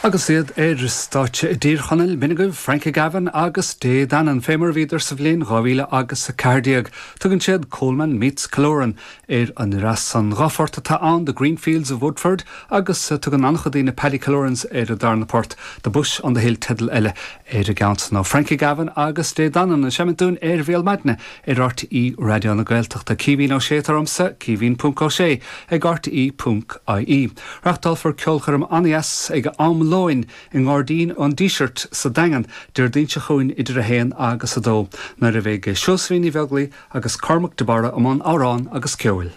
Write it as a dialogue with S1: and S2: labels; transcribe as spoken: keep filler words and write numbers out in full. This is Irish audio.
S1: Agus iad ar stáitse i dTír Chonaill b'in agaibh Frankie Gavin agus Dé Danann fé mar a bhíodar sa bhliain dhá mhíle agus a ceathair déag. Tugann siad Coleman meets Killoran ar an ndreas san. Dhá phort atá ann The Green Fields of Woodford agus tugann an-chuid daoine Paddy Killoran's ar an darna port, The Bush on the Hill teideal eile ar an gceann san ó Frankie Gavin agus Dé Danann ag seimint dúinn ar Bhéal Maidine ar RTÉ Raidió na Gaeltachta. Caoimhín Ó Sé atá ormsa, Caoimhín ponc Ó Sé ag RTÉ ponc IE. Reáchtálfar ceolchoirm an-deas ag am lóin i nGairdín an Dísirt sa Daingean Déardaoin seo chugainn idir a haon agus a dó, nuair a bheidh Seosaimhín Ní Bheaglaoich agus Cormac de Barra i mbun amhrán agus ceoil.